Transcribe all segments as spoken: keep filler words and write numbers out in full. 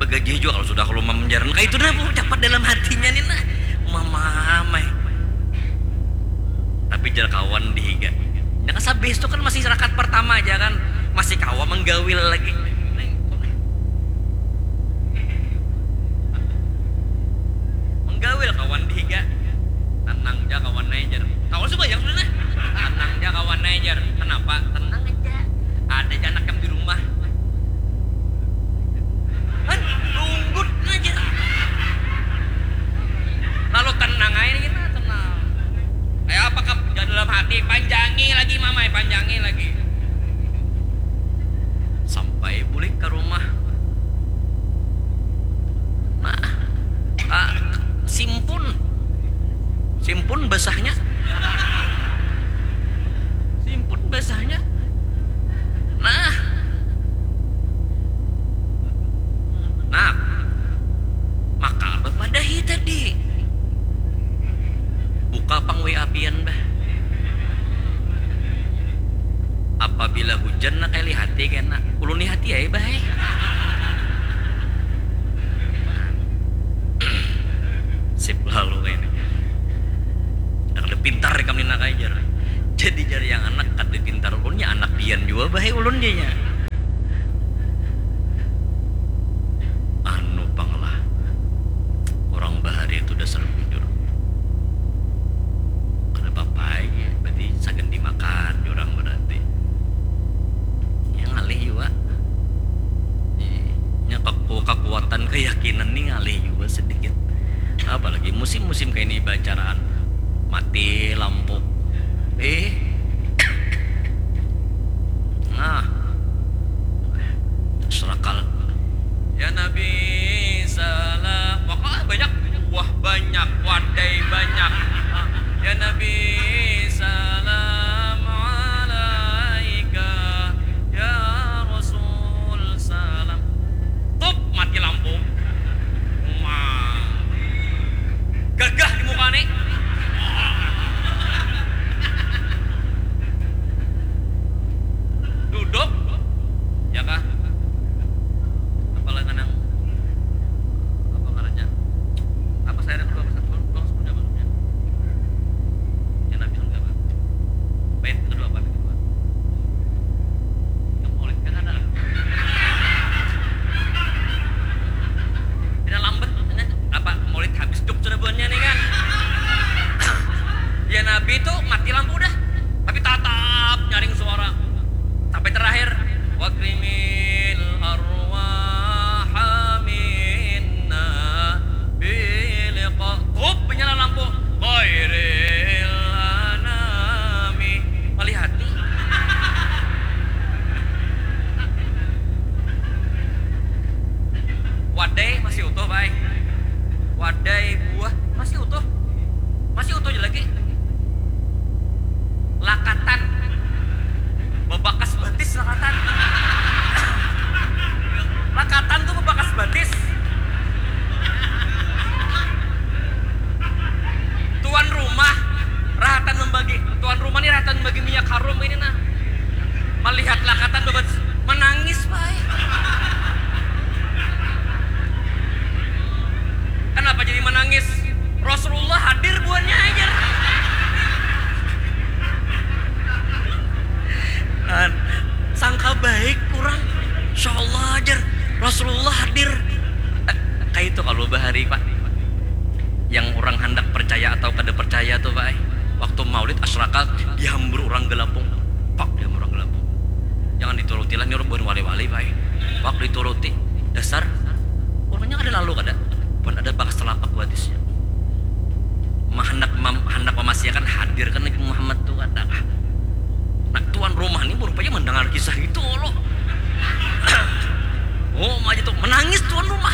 Gajih jua kalau sudah kalu mamjaran kaitu nah, puh, dapat dalam hatinya ni nah. Mamamai. Tapi jar kawan di higa. Nya kan sabis tu kan masih rakaat partama ja kan. Masih kawa manggawil lagi. Manggawil kawan di higa. Tanang ja kawan ai jar. Kawan sumbayang sudah nah. Tanang ja kawan ai jar. Kanapa? Tenang aja. Ada ja anak kam di rumah. Kan tunggut aja. Lalu tenang aja kita tenang. Kayak apa kap dalam hati panjangi lagi mamai panjangi lagi. Sampai bulik ke rumah. Nah, ah, simpun. Simpun basahnya. Simpun basahnya. Nah. Nah. Maka bapadahi tadi. Buka pang W A pian bah. Apabila hujan nak kayak lihati kena. Ulun lihati ya bah. Sip lalu kayak ini. Kada pintar ikam ni nak ajar. Jadi jar yang anak kada pintar ulunnya anak pian jua bah ulun janya. Anu pang lah. Orang bahari itu dasar bujur. Kada apa-apa ya. Berarti sagan dimakan orang berarti. Yang alih jua. Nya kaku kekuatan keyakinan nih alih jua sedikit. Apalagi musim-musim kayak ini bacaraan mati lampu. Eh. Nah. Serakal. Ya Nabi salam. Wah banyak. Wah banyak. Wadai banyak. Ya Nabi salam alaika. Ya Rasul salam. Tup mati lampu. Wah. Gagah di muka nih. Duduk. Ya kah? Apalah kanang apa ngarannya? Apa saya ada kedua pasal pulang pulang sepuluh jam maksudnya? Yang nabi sudah apa? Baik kedua apa kedua? Yang maulid kan ada. Tidak lambat ini apa maulid habis juk sudah buannya nih kan? Ya nabi itu mati lampu dah, tapi tatap nyaring suara. Sampai terakhir, wakrimil arwaha minna biliqa. Kup menyala lampu. Khairil anami. Melihat. Wadai masih utuh, bai. Wadai buah masih utuh. Masih utuh lagi. Lakatan. Bebakas batis lakatan. Lakatan tuh bebakas batis. Tuan rumah rahatan membagi tuan rumah nih rahatan membagi minyak harum ini nah melihat lakatan bebatis menangis baik. Kenapa jadi menangis? Rasulullah hadir buannya aja. Kan sangka baik kurang. Insya Allah ajar Rasulullah hadir. Eh, kayak itu kalau bahari pak. Yang orang hendak percaya atau kada percaya tuh pak. Eh. Waktu maulid asraka dihambur orang gelapung. Pak dihambur orang gelapung. Jangan dituruti lah ini orang bukan wali-wali pak. Eh. Pak dituruti. Dasar orangnya ada lalu kada pun ada bakas telapak hadisnya. Mahandak mem, handak memasiakan hadirkan Nabi Muhammad tu kada kah? Nah tuan rumah ni rupanya mendengar kisah itu lo. Oh aja tuh menangis tuan rumah.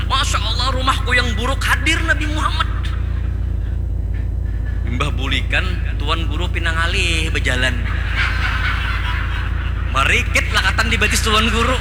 Masya Allah rumahku yang buruk hadir Nabi Muhammad. Imbah bulikan tuan guru pinang alih bejalan. Marikit lakatan di batis tuan guru.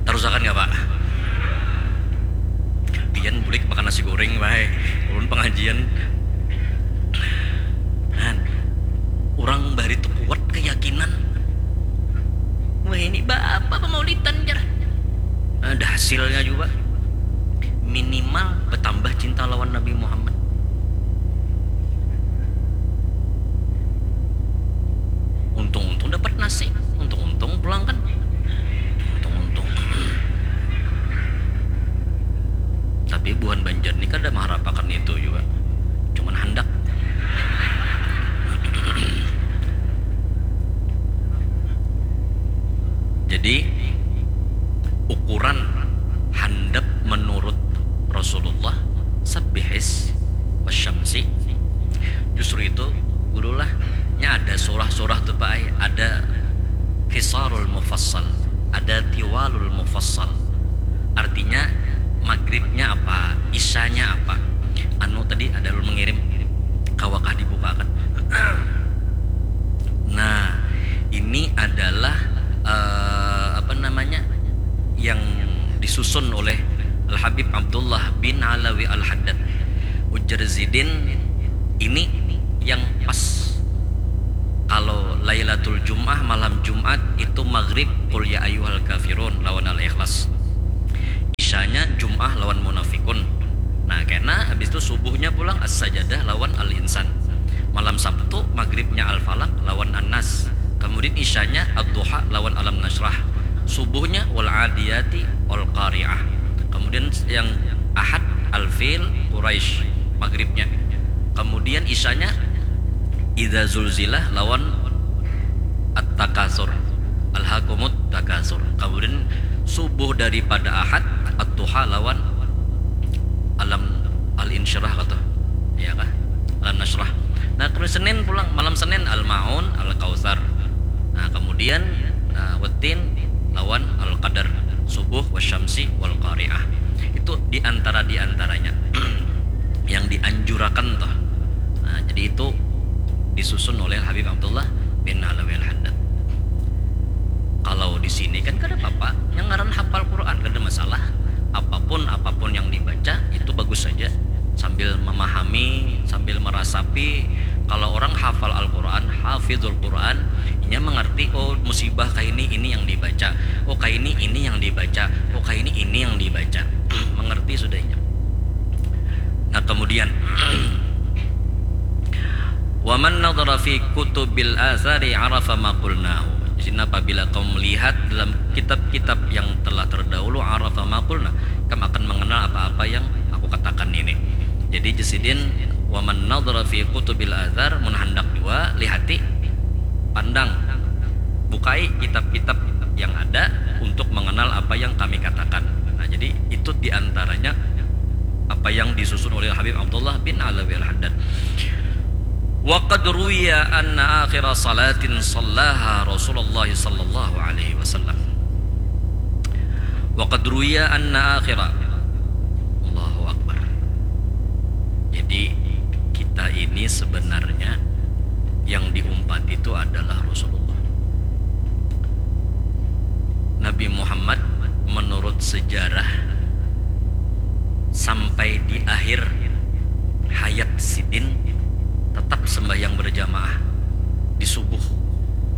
Terusakan nggak pak? Pian bulik makan Nasi goreng bae. Ulun pengajian. Han, urang bahari tu kuat keyakinan. Wah, ini baapa pemaulitan jar. Ada hasilnya juga. Minimal bertambah cinta lawan Nabi Muhammad. Untung-untung dapat nasi, untung-untung pulang kan. Untung-untung. Tapi buhan Banjar ni kada maharapakan itu juga. Cuman handak. Jadi ukuran handap menurut Rasulullah, sabbihis wasyamsi, justru itu gurulah. Nya ada surah-surah tu, Pak, ai. Ada kisarul mufassal, ada tiwalul mufassal. Artinya maghribnya apa, isyanya apa. Anu tadi ada ulun mengirim, kawakah dibukakan? Nah, ini adalah eh, apa namanya, yang disusun oleh Al Habib Abdullah bin Alawi Al Haddad. Ujar Zidin, ini yang pas. Kalau Lailatul Jum'ah, malam Jumat, itu maghrib Qul ya ayyuhal kafirun lawan Al Ikhlas. Isyanya Jum'ah lawan Munafikun. Nah, kena habis itu subuhnya pulang As-Sajadah lawan Al-Insan. Malam Sabtu maghribnya Al-Falaq lawan An-Nas. Kemudian isyanya Ad-Duha lawan Alam Nasyrah. Subuhnya Wal Adiyati Wal Qari'ah. Kemudian yang Ahad Al-Fil Quraisy maghribnya. Kemudian isyanya Idza Zulzilah lawan At-Takasur. Alhakumut Takasur. Kemudian subuh daripada Ahad, At-Tuha lawan Alam Al-Insyirah kata. Ya kah? Alam Nasyrah. Nah, kemudian Senin pulang, malam Senin Al-Maun, Al-Kautsar. Nah, kemudian nah, Wattin lawan Al-Qadar, subuh wasyamsi wal qari'ah. Itu diantara diantaranya yang dianjurakan toh. Nah, jadi itu disusun oleh Habib Abdullah bin Alawi Al-Haddad. Kalau di sini kan kada apa-apa, yang ngaran hafal Quran kada masalah. Apapun apapun yang dibaca itu bagus saja, sambil memahami, sambil merasapi. Kalau orang hafal Al-Quran, hafizul Quran, inya mengerti, oh, musibah kaini ini yang dibaca, oh, kaini ini yang dibaca, oh, kaini ini yang dibaca. Mengerti sudah inya. Nah, kemudian Waman nadhara fi kutubil athari arafa ma qulnahu. Jadi apabila kamu melihat dalam kitab-kitab yang telah terdahulu, arafa ma qulna, kamu akan mengenal apa-apa yang aku katakan ini. Jadi jar sidin, waman nadhara fi kutubil athar, mun handak jua lihati, pandang, bukai kitab-kitab yang ada untuk mengenal apa yang kami katakan. Nah, jadi itu diantaranya apa yang disusun oleh Habib Abdullah bin Alawi Al-Haddad. Wa qad ruwiya anna akhira salatin sallaha Rasulullah sallallahu alaihi wasallam. Wa qad ruwiya anna akhira. Allahu Akbar. Jadi kita ini sebenarnya yang diumpat itu adalah Rasulullah. Nabi Muhammad menurut sejarah sampai di akhir hayat sidin tetap sembahyang berjamaah di subuh.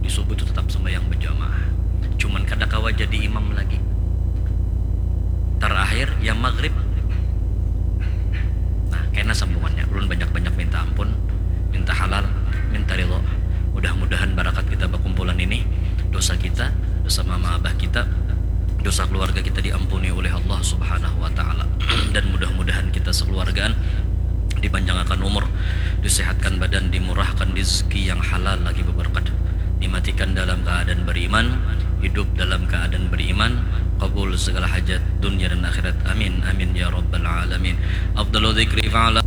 Di subuh itu tetap sembahyang berjamaah. Cuman kada kawa jadi imam lagi. Terakhir ya maghrib. Nah, kena sambungannya. Ulun banyak-banyak minta ampun, minta halal, minta ridho. Mudah-mudahan barakat kita bakumpulan ini, dosa kita, dosa mama abah kita, dosa keluarga kita diampuni oleh Allah Subhanahu wa taala. Dan mudah-mudahan kita sekeluargaan dipanjangakan umur, disehatkan badan, dimurahkan rizki yang halal lagi beberkat, dimatikan dalam keadaan beriman, hidup dalam keadaan beriman, kabul segala hajat dunia dan akhirat. Amin, amin ya rabbal alamin. Afdalu dzikri fa'ala